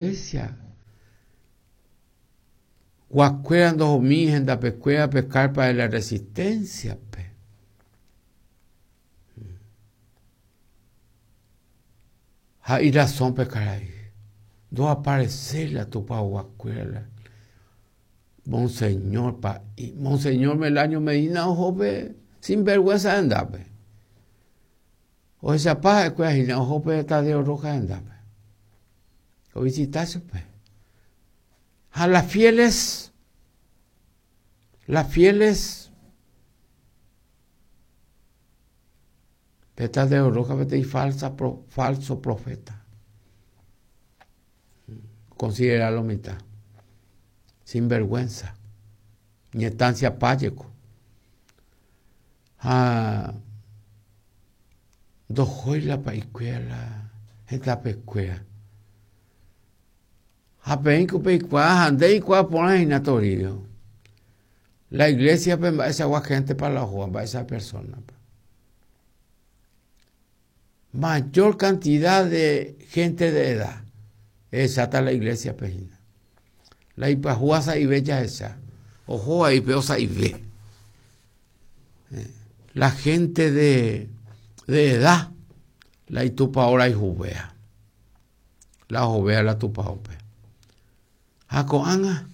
Iglesia guakuéra ndohomi hendapekuéra pe carpa de la resistencia-pe. Ha irazón pe karai, ndoapareséi la tupaoguakuéra la Monseñor pa'i, Monseñor Melanio Medina oho pe sinvergüenza hendápe. Ohechapa ha'ekuéra hína oho pe Tadeo Rojas hendápe. Ovisita chupe. Ha las fieles, las fieles, pe Tadeo Rojas peteĩ falsa, falso profeta. Considera lo mitã. Sin vergüenza. Ñetancia pájeko. Ha ndohói la pa'ikuéra la hetapekuéra. Ha peẽiko peikuaa ha nde eikuaa porã hína Toribio. La iglesia-pe mba'eichagua héntepa la ohóva, mba'eichagua persona-pa. Mayor cantidad de gente de edad ehecháta la iglesia-pe hína. La ipyahúva sa'ive jahecha, ohóva ipe osa'ive. La gente de, de edad, la itupao rayhuvéa, la ohovéa la tupaópe. Ha ko'ág̃a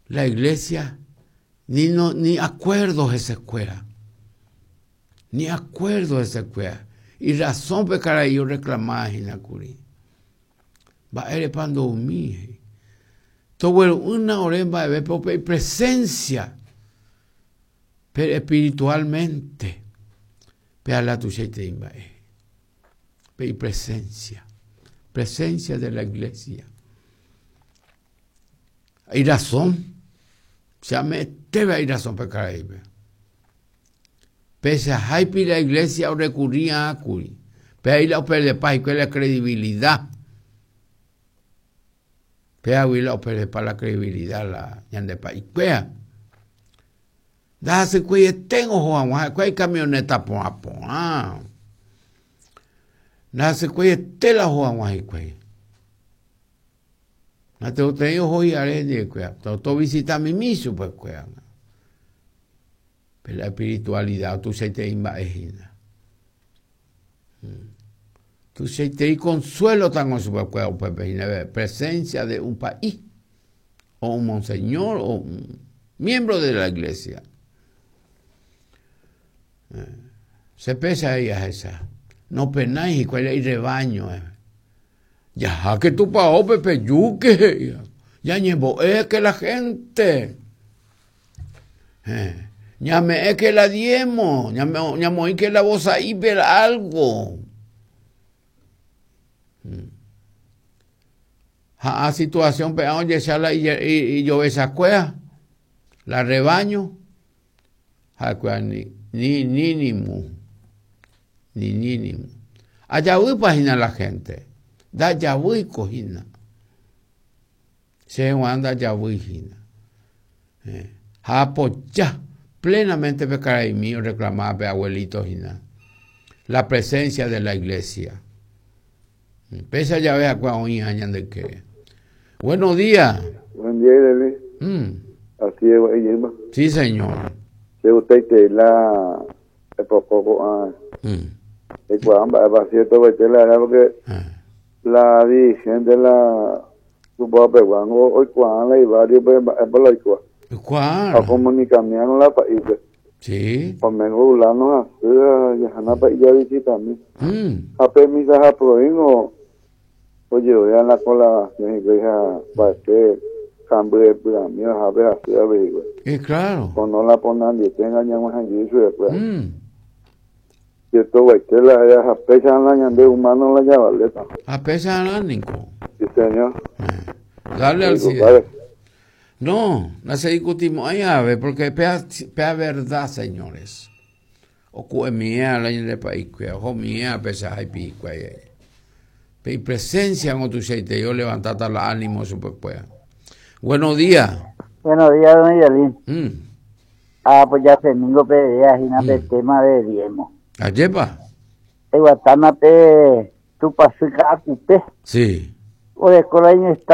la iglesia ni no, ni acuerdo hesekuéra. Ni acuerdo hesekuéra. Irrazón pe karai oreclamaba hína kuri. Mba'érepa ndoumi he'i. Togueru'ỹna ore mba'evépe upe ipresencia, pero espiritualmente, pe ala tuichaitei mba'e. Pe ipresencia, presencia de la iglesia. Irazón, che ame'ẽtéva irazón pe karaípe. Pechaháipi la iglesia orekurri'ã kuri. Pe ahí la operdepa hikuái la credibilidad. Péagui la operdepa la credibilidad la ñande pa'ikuéra. Ndahasykueiete oho hag̃ua ha'ekuéra ikamioneta porã porã. Ndahasykueiete la oho hag̃ua hikuái. Natekotevẽi oho hi'are hendivekuéra, tovisita mimi chupekuéra. Pe la espiritualidad tuichaitei mba'e hína. Tuichaitei consuelo tango chupekuéra upépe hína, presencia de un pa'i o un monseñor o un miembro de la iglesia. Che péicha he'i ahecha, nopenái hikuái la irrebaño. Jaháke tupaópe pejúke he'i, ñañembo'éke la gente. Ñame'ẽke la diezmo, ñamoĩke la vosa'ípe algo. Ha a situación pe ojecha la ijovechakuéra, la rebaño, ha'ekuéra ni ni ni ni mu, ni ni ni mu. Ajavýpa hína la gente? Ndajavýiko hína. Che g̃uarã ndajavýi hína. Ha apoja plenamente pe karaimi oreclamaba pe abuelito hína. La presencia de la iglesia. Péicha jave ha'ekuéra oĩha ñande ykére. Buenos días. Buen día, Irene. Así es, gua'i jeýma. Sí, señor. Che gustaiterei la epoko ko'ã eikuaa mba'épa cierto guaite la verdad porque la dirigente la tupao pegua ngo oikuaa la ibarrio pe mba'épa la oikóva. Oikuaa. Ha ocomunicamiarõ la pa'ípe. Sí. Omengo fulano hasy ha jahana pa'i javisitami. Ha pe misa ha proingo ojerovia la colaboración hikuái ha mba'ete kamby epy'ami oha pe hasy avei hikuái. Y claro. Pono la ponandiete ñag̃uahẽ jey chupekuéra. Cierto guaite la ha'e ha péicha la ñande humano la javaléta. Ha péicha niko. Sí, señor. Dale al cielo. No, no se discutimo'ãi ave, porque pea, pea verdad, señores. Oku'emie la ñande pa'ikuéra, ohomie pechaháipi hikuái. Pe ipresencia ngo tuichaitei olevantáta la ánimo chupekuéra. Buenos días. Buenos días, don Miguelín. Ah, pues ya se ningo pe idea hína pe tema de diezmo. Ajépa? Eguatána pe Tupãsy Ka'akupe. Sí. Oreko la iñestancia.